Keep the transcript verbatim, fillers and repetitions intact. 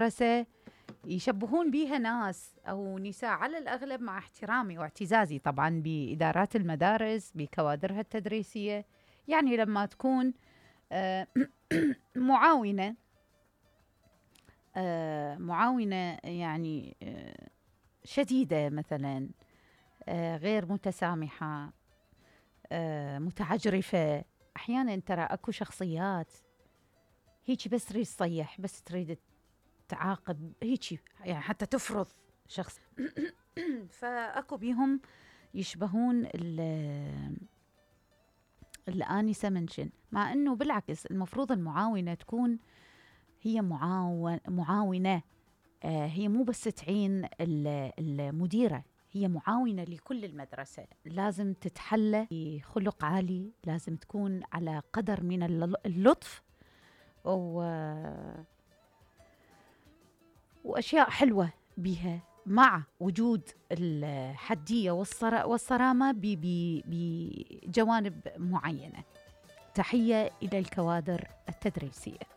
المدرسة يشبهون بيها ناس أو نساء على الأغلب، مع احترامي واعتزازي طبعا بإدارات المدارس بكوادرها التدريسية. يعني لما تكون معاونة معاونة يعني شديدة مثلا، غير متسامحة، متعجرفة. أحيانا ترى أكو شخصيات هيك بس تريد تصيح، بس تريد تعاقب هيك، يعني حتى تفرض شخص. فأكو بيهم يشبهون الآنسة منشن، مع أنه بالعكس المفروض المعاونة تكون هي معاون معاونة. آه هي مو بس تعين المديرة، هي معاونة لكل المدرسة. لازم تتحلى بخلق عالي، لازم تكون على قدر من اللطف و... وأشياء حلوة بها، مع وجود الحدية والصرامة بجوانب معينة. تحية إلى الكوادر التدريسية.